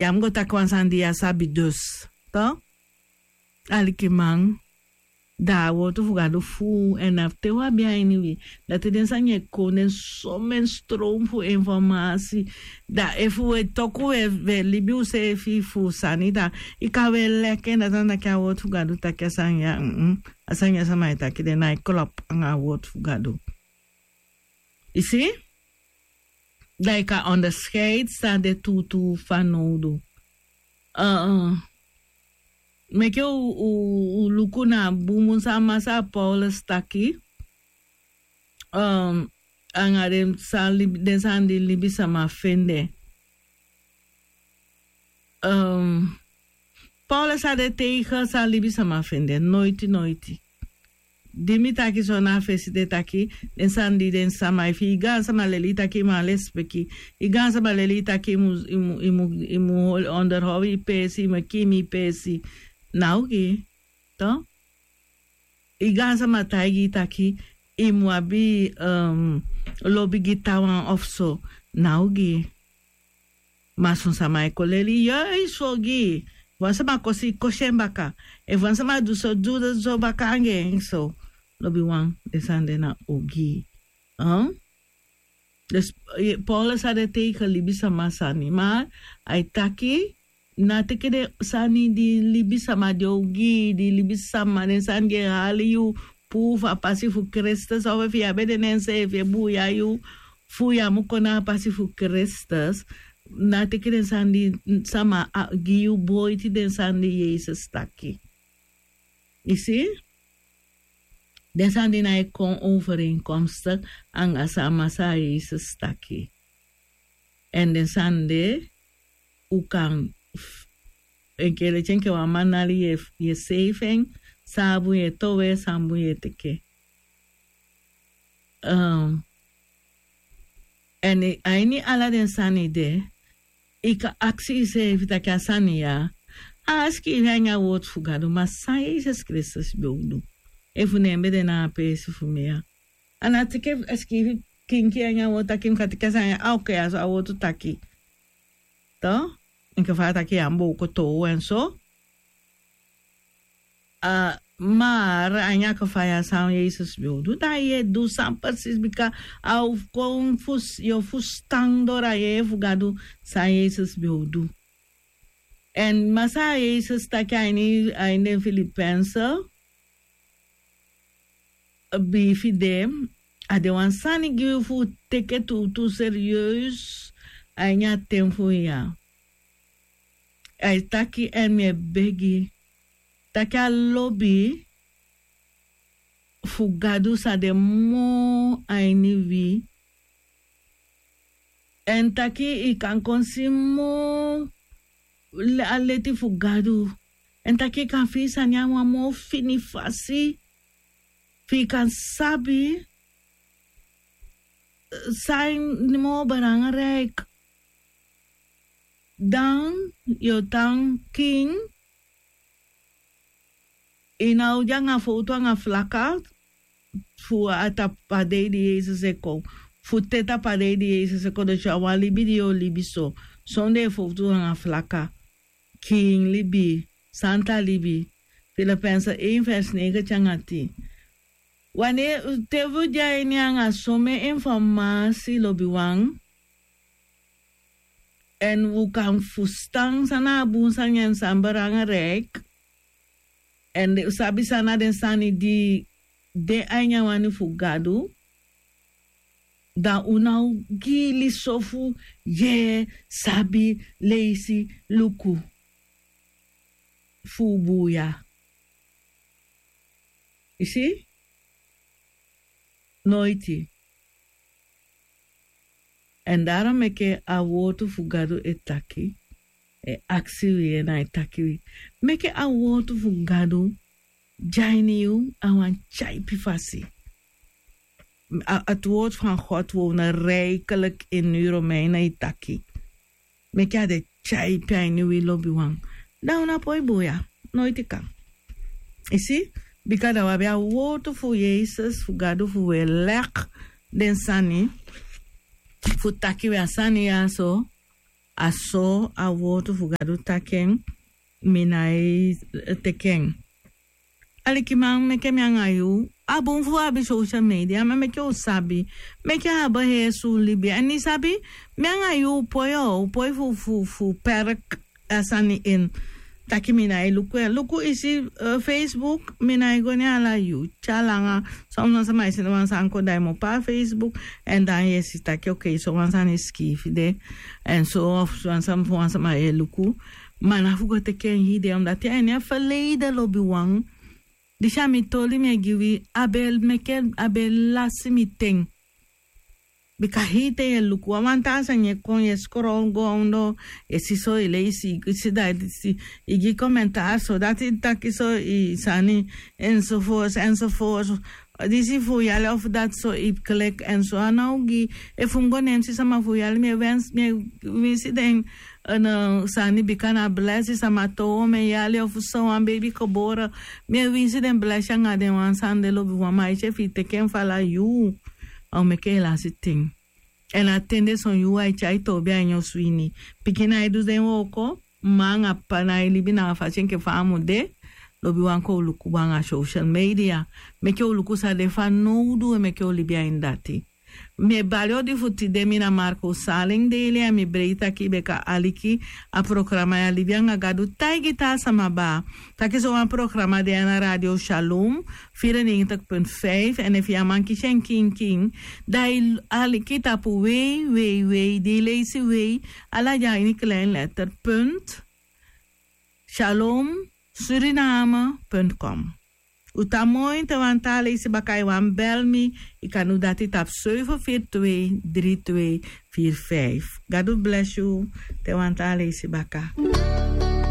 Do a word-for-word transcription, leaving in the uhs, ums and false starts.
Ya mus go taki wan sani di ya sabi dus. Alikiman, da a wortu fu gadu fu en na fu te wi abi a ini wi. Dati den sani e kon den somen strom fu informasi. Da efu wi e toku wi e libi useefi fu sani da i kan wi e leki en dati na taki a wortu fu gadu taki a sani ya. A sani ya sama e taki den na e klop anga a wortu fu gadu. I si? Da i kan onderskeidi san de tuutuu fanowdu. Meke u luku na a bun bun san masra paulus taki, anga den sani di libisama fende. Paulus a de teige san libisama fende noiti noiti. Di mi taki so na a fesi de taki den sani di den sama efu i gaansama leli i taki i man lespeki, i gaansama leli i taki i mu onderhow i peesi i mu e kiimi i peesi. Na ogii. I gaansama taigi i taki i mu abi lobi gi taawan ofu so. Na ogii. Ma son sama e kon leli yu yu so gi yu. Wan sama kosi kosi en baka. Efu wan sama du so du so baka anga en so. Lobi wan den sani de na ogii. Paulus a de teige libisama sani ma a e taki na teke den sani di libisama di ogii di libisama den sani di e hali yu puu fu a pasi fu kristus ofu efu yu abi ede na enseefi e buuya yu fu yu á mu kon na a pasi fu kristus. Na teke den sani di sama gi yu boiti den sani di yesus taki. I si? Den sani di na e kon overeenkomstik anga san a masra yesus taki. Èn den sani de u kan enke leti enke wan man nali yu e seifi en san a bun yu e towe san bun yu e teke. Èn a ini ala den sani de i kan aksi iseefi taki a sani ya a sikiifi a ini a wortu fu gadu ma san yesus kristus ben o du? Efu ne en ben de na a peesi fu mi ya a na teke a sikiifi kinki a ini a wortu taki mi kan teke a sani ya a oke ya so a wortu taki. Enke fa a taki ya a mus bowko toow en so. Mar a ini a kafaya san yesus ben o du dan yu e du san presis bika a o kon yu o fustan doro a yeye fu gadu san yesus ben o du. Èn masra yesus taki a ini den filipense biifi de a de wan sani gi wi fu teke tuutuu serieus. A ini a ten fu wi ya a e taki èn mi e begi taki a lobi fu gadu sa de moo a ini wi. Èn taki i kan kon si moo a leti fu gadu. Èn taki i kan fii sani a wan moo fini fasi fi i kan sabi san moo belangriki. Dan yu o tan king i na o de anga fowtu anga flaka fu a tapu a dei di yesus e kon fu te tapu a dei di yesus e kon desi a wan libi di yu o libi so sondee fowtu anga flaka. Kiin libi santa libi. Filipense ein vers neigenti anga tin. Wanneer te wi de a ini anga somen informasi lobiwan èn wi kan fustan san na a bun sani èn san belangriki èn wi sabi san na den sani di de a ini a wani fu gadu. Dan un na o gi liso fu yee sabi leisi luku fu un buuya. I si? Noiti. Èn daro meke a wortu fu gadu e taki e aksi wi en a e taki wi meke a wortu fu gadu de a ini yu a wan tyaipi fasi. A tu wortu fu a god wi o na reikeliki ini wi romeina e taki meke a de tyaipi a ini wi lobiwan. Dan un na poi buuya noiti kan. I si? Bika dan wi abi a wortu fu yesus fu gadu fu wi e leki den sani fu taki wi a sani ya so. A so a wortu fu Gadu taki en, mi nái teki en. Alikiman, meke mi anga yu, a bun fu abi social media, ma meke u sabi, meke a abi heri su libi. Èn i sabi, mi anga yu u poi, o, u poi fu, fu, fu perk a sani en. Taki mi nái luku en. Luku i si, eh, Facebook, mi nái go ne ala yu. Tyari langa, son wan sama e seni wan sani kon, dan i mu opo a Facebook, èn dan yu e si taki, okay, so wan sani sikiifi de. Èn so, of so wan sama, fu wan sama e luku. Ma na fu go teki en hide, omdat a ini a verleden, lobiwan. Disi a mi toli mi e gi wi, a be meke, a be lasi mi ten. Bika hii ten yu e luku wan, wan taa sani e kon, yu e scroll go ondoo, yu e si so, yu e leisi, yu e si dati, i gi commentaar so, dati taki so, i sani, enzovoorts, enzovoorts. Disi fu yali of dati so, i klik, èn so a ná o gi, efu mi go ne mi si sama fu yali, mi e wens, mi e winsi den, eh, sani, bika na blesi sama toon mi e yali, of so wan baby geboren, mi e winsi den blesi anga den wan sani de, lobiwan, ma efu i teki en fu ala yuu, a o meke i lasi ten. Èn a ten de son yuu ai tyai toobi a ini osu ini. Pikin nái du den wooko, mma anga ppa nái libi na a fasi enke fa a mu de. Lobiwan, kon u luku bun anga social media. Meke u luku san de fanowdu, meke u libi a ini dati. Mi e bali odi fu tide, mi na Marco Salin Dele, èn mi breiti taki bika aliki a programa ya Libi anga Gadu, taigi taa sama baa taki so wan programa de a ini Radio Shalom, vierennegentig punt vijf, èn efu yu á man kisi en kinkin, dan i aliki tapu www, di i leisi www, ala den a ini klein letter, punt, shalomsuriname punt com. U tan moi, te wan taa leisi baka i wani bel mi, i kan du dati tapu zeven vier twee drie twee vier vijf. Gadu blesi u, te wan taa leisi baka.